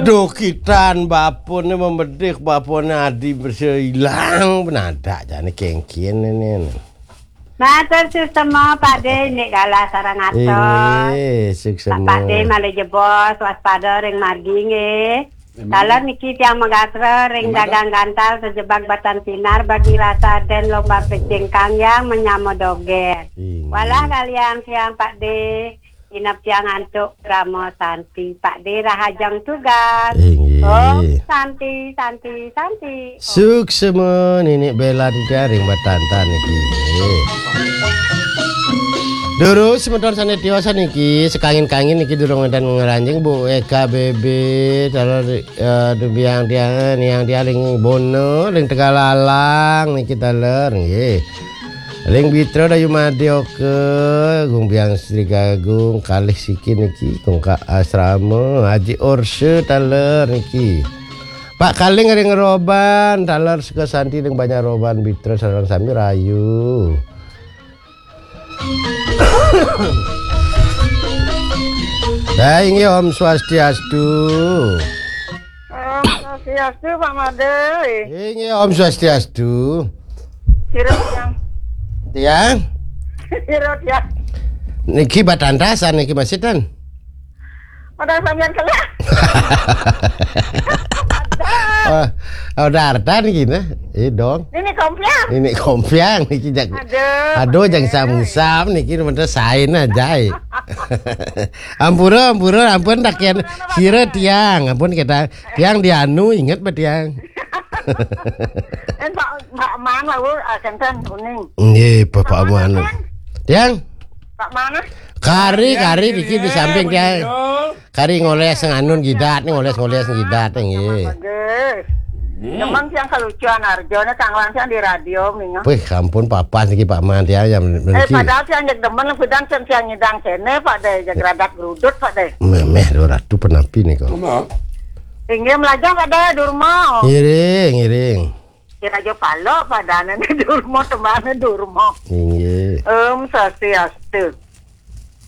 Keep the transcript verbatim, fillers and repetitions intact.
Duh, kitan bapune membedik, bapune adi bersilang, penadak jane kengkien ini. Matur suksema, Pak De, nek galah sareng atos. Inggih, suksema. Pak De malih jebos, waspada ring margi nggih. Taler niki tiang megatra ring dagang gantal sejebak batan sinar bagi rasa den lomba pecing kangyang menyama doger. Inggih. Walah kalian tiang Pak De, inep tiang antuk krama santi. Pak De rahajeng tugas. Inggih. Om santi, santi, santi. Om. Suksema Ninik Bella titiang ring batantan niki. Durus semeton sane tiosan niki, sekangin-kangin niki durung enten ngranjing Bu E K B B, taler, eh, dubiang tiang, niang tiang ring Bono, ring Tegalalang niki taler nggih. Ring Bitra Dayu Madya Oka, Gung Biang Sri Gagung, kalih siki niki, Gung Kak Asrama, Haji Orse taler niki. Pak Kaling ring Roban, taler Sukasanti ring Banjar Roban, Bitra sareng sami rayu. Dah inggih Om Swastiastu. Om Swastiastu, Pak Made. Inggih Om Swastiastu. Sira tiang. Tiang? Sira tiang. Niki batantasan niki masitan. Padahal sampean kelak. Oh, oh, Darta niki nah. Eh dong. Ini kompiang. Ini kompiang niki jak. Aduh, aduh, jangan sam-sam niki bener sain aja. Ampura, ampura, ampun tak yen sira tiang, ampun kita tiang dianu inget ba tiang. Eh, Pak, Pak Man lalu, ah, kenten kuning. Nggih, Bapak Man. Tiang? Pak Man. Kari, kari niki di samping tiang. Kari ngoles nganun jidat nih, ngoles-ngoles jidat nggih. Bagus. Demen tiang kelucuan Arjo nih, kanglan tiang di radio minggu. Wih, ampun papas niki Pak Man tiang ya. Eh, padahal tiang jek demen pidan tiang, tiang ngidang kene, Pak De, jek radak grudut, Pak De. Memeh dua ratu penapi nih kok. Inggih melajah, Pak De, Durma. Ngiring, ngiring. Kira aja pala padane Durma, tembane Durma. Inggih. Om Swastiastu.